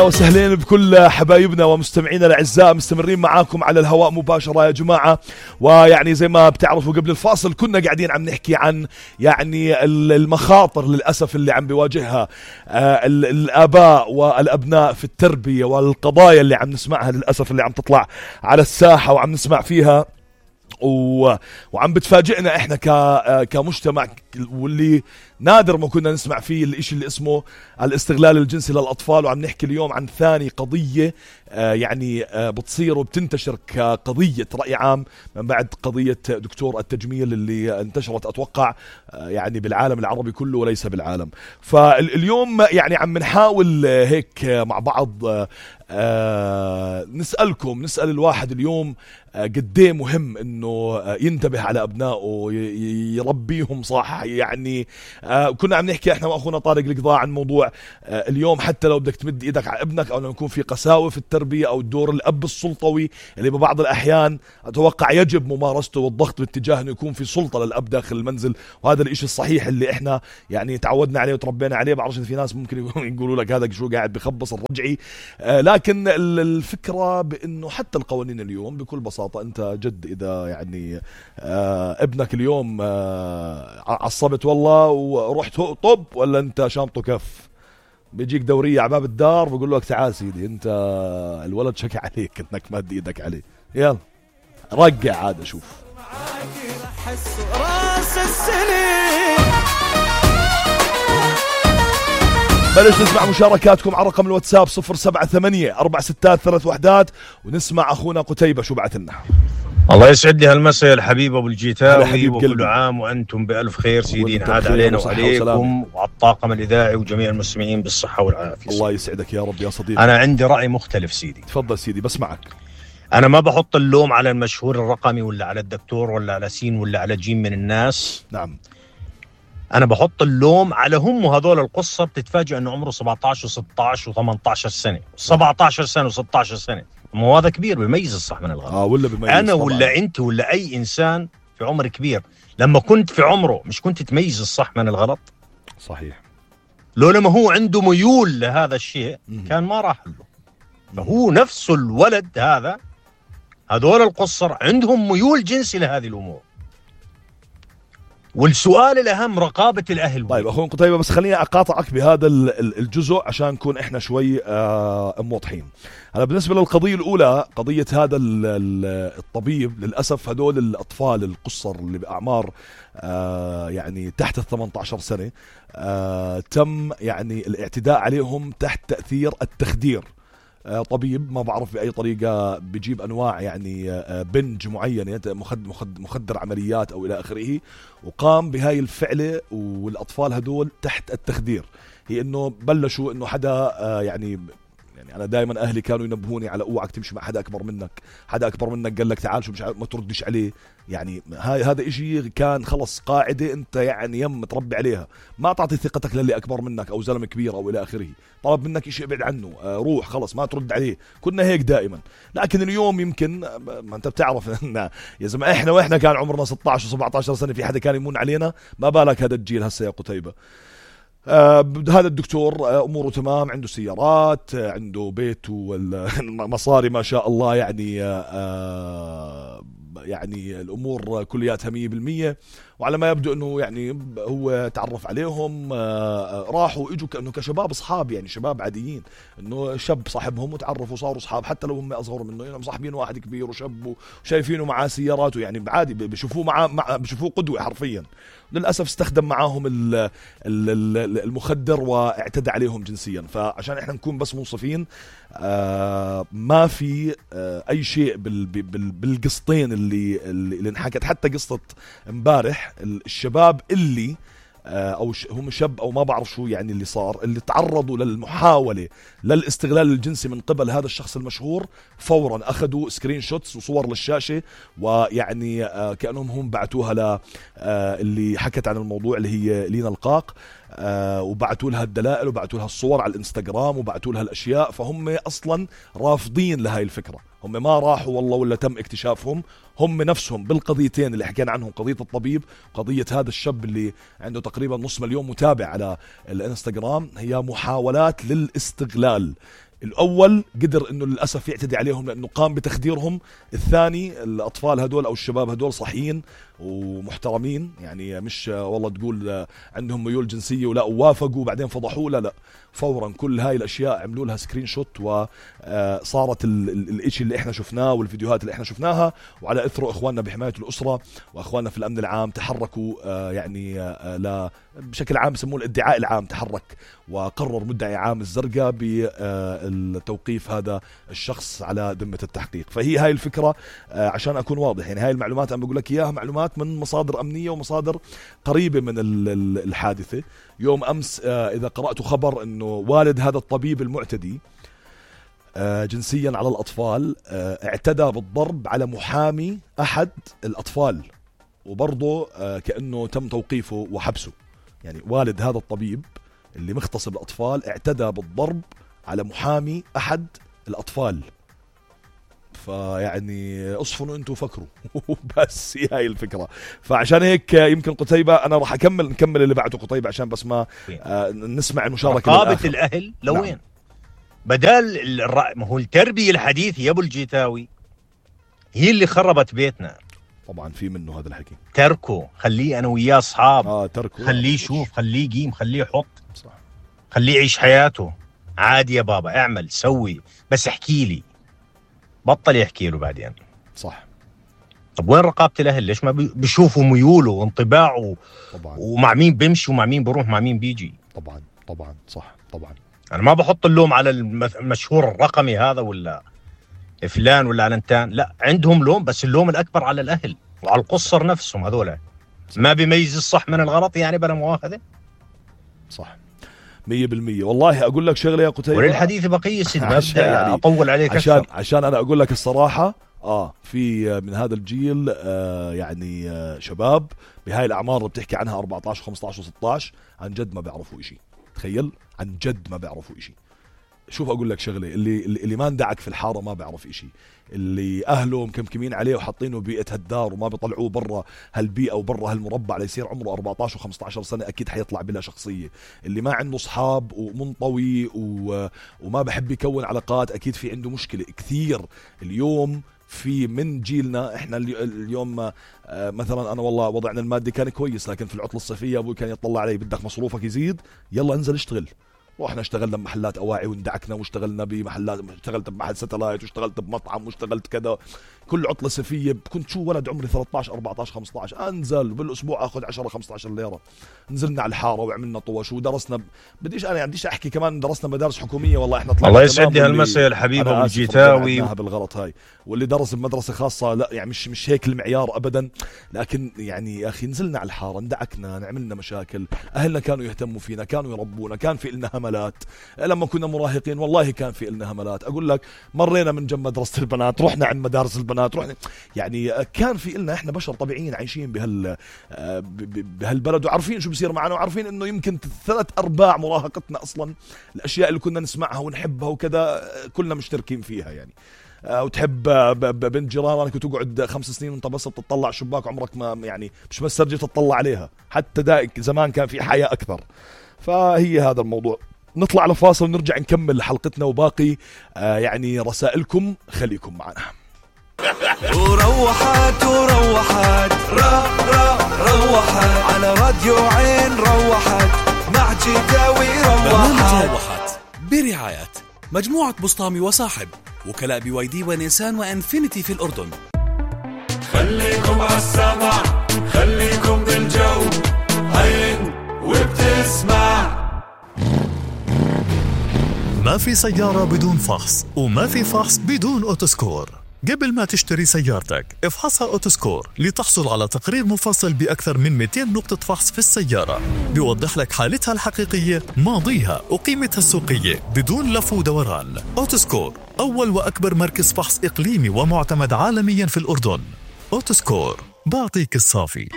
وسهلين بكل حبايبنا ومستمعينا الاعزاء، مستمرين معاكم على الهواء مباشرة يا جماعة. ويعني زي ما بتعرفوا قبل الفاصل كنا قاعدين عم نحكي عن يعني المخاطر للأسف اللي عم بيواجهها الآباء والأبناء في التربية، والقضايا اللي عم نسمعها للأسف اللي عم تطلع على الساحة وعم نسمع فيها وعم بتفاجئنا احنا كمجتمع، واللي نادر ما كنا نسمع فيه الاشي اللي اسمه الاستغلال الجنسي للأطفال. وعم نحكي اليوم عن ثاني قضية يعني بتصير وبتنتشر كقضية رأي عام من بعد قضية دكتور التجميل اللي انتشرت أتوقع يعني بالعالم العربي كله وليس بالعالم. فاليوم يعني عم نحاول هيك مع بعض نسأل الواحد اليوم قديه مهم انه ينتبه على ابنائه يربيهم صح. يعني كنا عم نحكي احنا واخونا طارق القضاء عن موضوع اليوم حتى لو بدك تمد ايدك على ابنك او لما يكون في قساوة في التربية او دور الاب السلطوي اللي ببعض الاحيان اتوقع يجب ممارسته والضغط باتجاه انه يكون في سلطة للاب داخل المنزل، وهذا الاشي الصحيح اللي احنا يعني تعودنا عليه وتربينا عليه. بعرفش في ناس ممكن يقولوا لك هذا شو قاعد بخبص الرجعي، لكن الفكرة بانه حتى القوانين اليوم بكل بساطة انت جد اذا يعني ابنك اليوم عصبت والله ورحت طب ولا انت شامطه كف، بيجيك دورية عباب الدار بيقول لك تعال سيدي انت الولد شكى عليك انك مد ايدك عليه، يلا رجع عاد شوف. بلش نسمع مشاركاتكم على رقم الواتساب 078-463-31 ونسمع أخونا قتيبة شو بعث لنا. الله يسعد لي هالمساء الحبيب أبو الجيتاوي، وكل عام وأنتم بألف خير سيدين، عاد علينا وعليكم وعلى الطاقم الإذاعي وجميع المستمعين بالصحة والعافية. الله يسعدك يا رب يا صديقي. أنا عندي رأي مختلف سيدي. تفضل سيدي بسمعك. أنا ما بحط اللوم على المشهور الرقمي ولا على الدكتور ولا على سين ولا على جيم من الناس. نعم. أنا بحط اللوم على هم هذول القصة بتتفاجئ أنه عمره 17 و16 و18 سنة 17 سنة و16 سنة، مو هذا كبير بيميز الصح من الغلط. ولا بيميز أنا طبعا. ولا أنت ولا أي إنسان في عمر كبير لما كنت في عمره مش كنت تميز الصح من الغلط؟ صحيح. لو لما هو عنده ميول لهذا الشيء كان ما راح له. فهو نفسه الولد هذا هذول القصر عندهم ميول جنسي لهذه الأمور. والسؤال الأهم رقابة الأهل. طيب أخونا قتيبة بس خليني أقاطعك بهذا الجزء عشان نكون إحنا شوي موضحين. أنا بالنسبة للقضية الأولى قضية هذا الطبيب، للأسف هدول الأطفال القصر اللي بأعمار يعني تحت 18 سنة تم يعني الاعتداء عليهم تحت تأثير التخدير. طبيب ما بعرف بأي طريقة بيجيب أنواع يعني بنج معينة مخدر عمليات أو إلى آخره، وقام بهاي الفعلة والأطفال هدول تحت التخدير. هي إنه بلشوا إنه حدا يعني أنا دائما أهلي كانوا ينبهوني على أوعك تمشي مع حدا أكبر منك، حدا أكبر منك قال لك تعال شو مش ما تردش عليه. يعني هذا إشي كان خلص قاعدة أنت يعني يم تربي عليها، ما تعطي ثقتك للي أكبر منك أو زلمة كبير أو إلى آخره. طلب منك إشي ابعد عنه، روح خلص ما ترد عليه. كنا هيك دائما، لكن اليوم يمكن ما أنت بتعرف إن يا زلمة إحنا وإحنا كان عمرنا 16 و17 سنة في حدا كان يمون علينا، ما بالك هذا الجيل هسه يا قتيبة. هذا الدكتور أموره تمام، عنده سيارات، عنده بيت والمصاري ما شاء الله، يعني الأمور كلياتها 100%. وعلى ما يبدو أنه يعني هو تعرف عليهم، راحوا إجوا كأنه كشباب أصحاب، يعني شباب عاديين، أنه شاب صاحبهم وتعرفوا صاروا أصحاب حتى لو هم أصغر منه، يعني مصاحبين واحد كبير وشاب وشايفينه معاه سياراته، يعني عادي بشوفوه بشوفوه قدوة حرفيا. للأسف استخدم معاهم المخدر واعتدى عليهم جنسيا. فعشان احنا نكون بس منصفين، ما في أي شيء بالقسطين اللي انحكت. حتى قصة امبارح الشباب اللي او هم شاب او ما بعرف شو يعني اللي صار، اللي تعرضوا للمحاولة للاستغلال الجنسي من قبل هذا الشخص المشهور، فورا اخذوا سكرين شوتس وصور للشاشة، ويعني كأنهم هم بعتوها اللي حكت عن الموضوع اللي هي لينا القاق، وبعتوا لها الدلائل وبعتوا لها الصور على الانستغرام وبعتوا لها الاشياء. فهم اصلا رافضين لهاي الفكرة، هم ما راحوا والله ولا تم اكتشافهم، هم نفسهم بالقضيتين اللي حكينا عنهم، قضية الطبيب وقضية هذا الشاب اللي عنده تقريبا 500,000 متابع على الانستغرام، هي محاولات للاستغلال. الأول قدر إنه للأسف يعتدي عليهم لأنه قام بتخديرهم. الثاني الأطفال هدول أو الشباب هدول صحيين ومحترمين، يعني مش والله تقول عندهم ميول جنسية ولا وافقوا بعدين فضحوه، لا فورا كل هاي الأشياء عملوا لها سكرين شوت وصارت الاشي اللي احنا شفناه والفيديوهات اللي احنا شفناها. وعلى اثره اخواننا بحماية الأسرة واخواننا في الأمن العام تحركوا يعني بشكل عام بسموه الادعاء العام، تحرك وقرر مدعي عام الزرقاء بالتوقيف هذا الشخص على ذمة التحقيق. فهي هاي الفكرة عشان أكون واضح، يعني هاي المعلومات أنا بقول لك إياها معلومات من مصادر أمنية ومصادر قريبة من الحادثة. يوم أمس إذا قرأت خبر أنه والد هذا الطبيب المعتدي جنسيا على الأطفال اعتدى بالضرب على محامي أحد الأطفال، وبرضه كأنه تم توقيفه وحبسه. يعني والد هذا الطبيب اللي مختص بالأطفال اعتدى بالضرب على محامي أحد الأطفال. فيعني اصفنوا انتوا فكروا بس هي هاي الفكرة. فعشان هيك يمكن قتيبة انا راح نكمل اللي بعته قتيبة عشان بس ما نسمع المشاركة رقابة الأهل لوين؟ نعم. بدل ما هو التربية الحديثة يا ابو الجيتاوي هي اللي خربت بيتنا. طبعا في منه هذا الحكي. تركه، خليه انا وياه اصحاب، تركه، خليه يشوف، خليه يقيم، خليه يحط، صح، خليه يعيش حياته عادي. يا بابا اعمل سوي بس احكي لي، بطل يحكي له بعدين. صح. طب وين رقابة الأهل؟ ليش ما بيشوفوا ميوله وانطباعه طبعا، ومع مين بيمشي ومع مين بيروح مع مين بيجي؟ طبعا صح. طبعا أنا ما بحط اللوم على المشهور الرقمي هذا ولا فلان ولا علنتان، لا عندهم لوم، بس اللوم الأكبر على الأهل وعلى القصر نفسهم. هذولا ما بيميز الصح من الغلط، يعني بلا مؤاخذة. صح 100%. والله أقول لك شغلة يا قتيبة، وللحديث بقية سيد ما بدي يعني أطول عليك عشان أنا أقول لك الصراحة في من هذا الجيل يعني شباب بهاي الأعمار اللي بتحكي عنها 14 15 و16 عن جد ما بيعرفوا إشي. تخيل، عن جد ما بيعرفوا إشي. شوف أقول لك شغلة، اللي ما اندعك في الحارة ما بيعرف إشي، اللي أهله مكمكمين عليه وحاطينه ببيئة هالدار وما بيطلعوه برا هالبيئة وبرا هالمربع ليصير عمره 14 و15 سنة أكيد حيطلع بلا شخصية. اللي ما عنده أصحاب ومنطوي وما بحب يكون علاقات أكيد في عنده مشكلة كثير. اليوم في من جيلنا احنا اليوم مثلا انا والله وضعنا المادي كان كويس، لكن في العطلة الصيفية ابوي كان يطلع علي بدك مصروفك يزيد يلا انزل اشتغل. واحنا اشتغلنا بمحلات اواعي واندعكنا، واشتغلنا بمحلات، اشتغلت بمحل ساتلايت، واشتغلت بمطعم، واشتغلت كذا. كل عطلة صيفية كنت شو ولد عمري 13 14 15 انزل بالاسبوع اخذ 10 15 ليرة. نزلنا على الحارة وعملنا طوش ودرسنا بديش احكي كمان درسنا مدارس حكومية. والله احنا طلعنا الله يسعد هالمساء الحبيب ابو الجيتاوي بالغلط هاي، واللي درس بمدرسة خاصة لا يعني مش هيك المعيار ابدا. لكن يعني يا اخي نزلنا على الحارة، اندعكنا، نعملنا مشاكل، اهلنا كانوا يهتموا فينا، كانوا يربونا، كان في لنا هملات لما كنا مراهقين. والله كان في لنا هملات. اقول لك مرينا من جنب مدرسة البنات، رحنا عند مدارس البنات، رحنا يعني كان في لنا احنا بشر طبيعيين عايشين بهالبلد وعارفين شو بصير معنا، وعارفين انه يمكن 3/4 مراهقتنا اصلا الاشياء اللي كنا نسمعها ونحبها وكذا كلنا مشتركين فيها. يعني وتحب بنت جيرانك وتقعد 5 سنين وانت بس بتطلع شباك عمرك ما يعني مش بس ترجع تطلع عليها. حتى دائك زمان كان في حياة اكثر. فهي هذا الموضوع. نطلع على فاصل ونرجع نكمل حلقتنا وباقي يعني رسائلكم. خليكم معنا. وروحت روحت على راديو عين، روحت مع جيتاوي. روحت برعاية مجموعة بسطامي وصاحب، وكلاء BYD ونيسان وانفينيتي في الأردن. خليكم عالسمع، خليكم بالجو، عين وبتسمع. ما في سيارة بدون فحص، وما في فحص بدون أوتوسكور. قبل ما تشتري سيارتك افحصها أوتوسكور لتحصل على تقرير مفصل بأكثر من 200 نقطة فحص في السيارة، بيوضح لك حالتها الحقيقية، ماضيها وقيمتها السوقية بدون لف ودوران. أوتوسكور أول وأكبر مركز فحص إقليمي ومعتمد عالميا في الأردن. أوتوسكور، بعطيك الصافي.